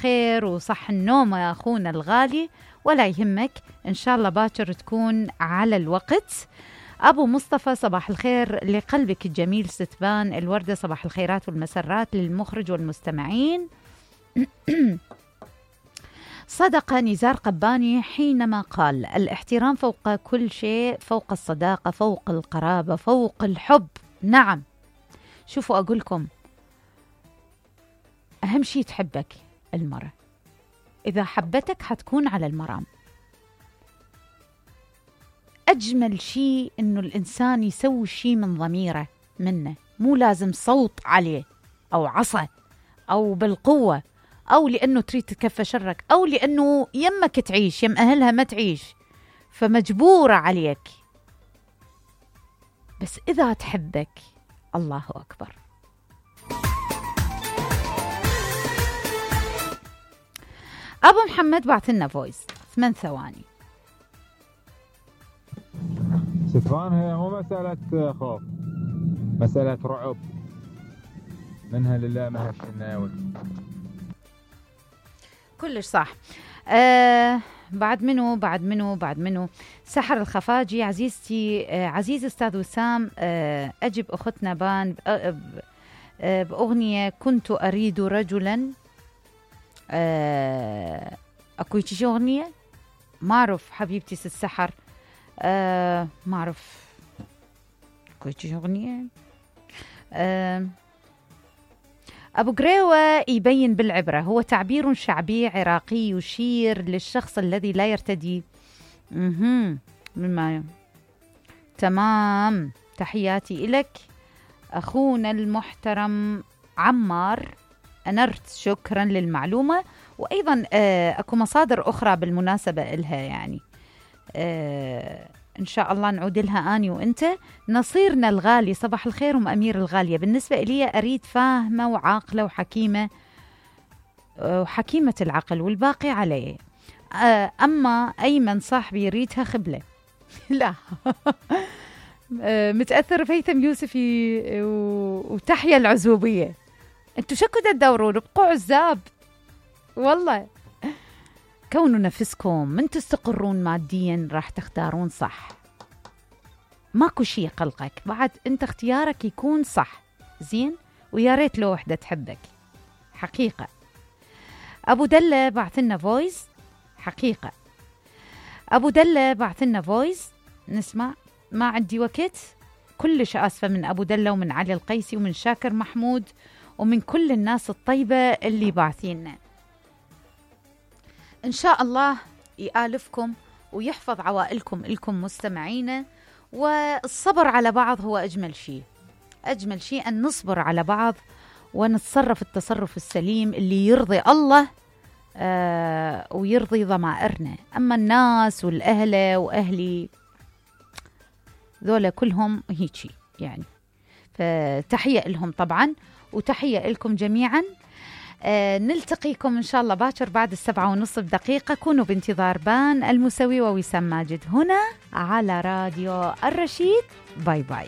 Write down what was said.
خير وصح النوم يا أخونا الغالي، ولا يهمك إن شاء الله باكر تكون على الوقت. أبو مصطفى صباح الخير لقلبك الجميل ستبان الوردة، صباح الخيرات والمسرات للمخرج والمستمعين. صدق نزار قباني حينما قال الاحترام فوق كل شيء، فوق الصداقة، فوق القرابة، فوق الحب. نعم، شوفوا أقولكم أهم شيء تحبك المرأة، إذا حبتك حتكون على المرام. أجمل شيء إنه الإنسان يسوي شيء من ضميره منه، مو لازم صوت عليه أو عصا أو بالقوة أو لأنه تريد تكفى شرك أو لأنه يمك تعيش يم أهلها ما تعيش فمجبورة عليك. بس إذا تحبك الله أكبر. أبو محمد بعثلنا فويس 8 ثواني. ستفان هي مو مسألة خوف، مسألة رعب، منها لله ما هش الناوي. كلش صح. بعد منو سحر الخفاجي. عزيزتي عزيز أستاذ وسام، أجب أختنا بان بأغنية كنت أريد رجلا. أكو شي أغنية ما أعرف حبيبتي السحر، ما أعرف أكو شي أغنية. أبو قريوة يبين بالعبرة هو تعبير شعبي عراقي يشير للشخص الذي لا يرتدي. تمام، تحياتي إلك أخونا المحترم عمار، أنرت، شكرا للمعلومة. وأيضا أكو مصادر أخرى بالمناسبة إلها، يعني إن شاء الله نعود لها أني وإنت. نصيرنا الغالي صباح الخير أمير الغالية، بالنسبة إلي أريد فاهمة وعاقلة وحكيمة، وحكيمة العقل والباقي عليه. أما أيمن صاحبي يريدها خبلة. لا متأثر فيثم يوسفي وتحيا العزوبية. انتوا شكو تدورون بقوا عزاب والله. كونوا نفسكم من تستقرون ماديا راح تختارون صح، ماكو شي يقلقك بعد، انت اختيارك يكون صح زين، ويا ريت لو وحدة تحبك حقيقة. أبو دلة بعثلنا فويس، حقيقة أبو دلة بعثلنا فويس نسمع. ما عندي وقت، كلش آسفة من أبو دلة ومن علي القيسي ومن شاكر محمود ومن كل الناس الطيبة اللي باعثيننا. إن شاء الله يآلفكم ويحفظ عوائلكم إلكم مستمعين. والصبر على بعض هو أجمل شيء، أجمل شيء أن نصبر على بعض ونتصرف التصرف السليم اللي يرضي الله ويرضي ضمائرنا. أما الناس والأهل وأهلي ذولا كلهم هيجي يعني، فتحية لهم طبعا وتحية لكم جميعا. نلتقيكم إن شاء الله باكر بعد 7:30 دقيقة. كونوا بانتظار بان المسوي ووسام ماجد هنا على راديو الرشيد. باي باي.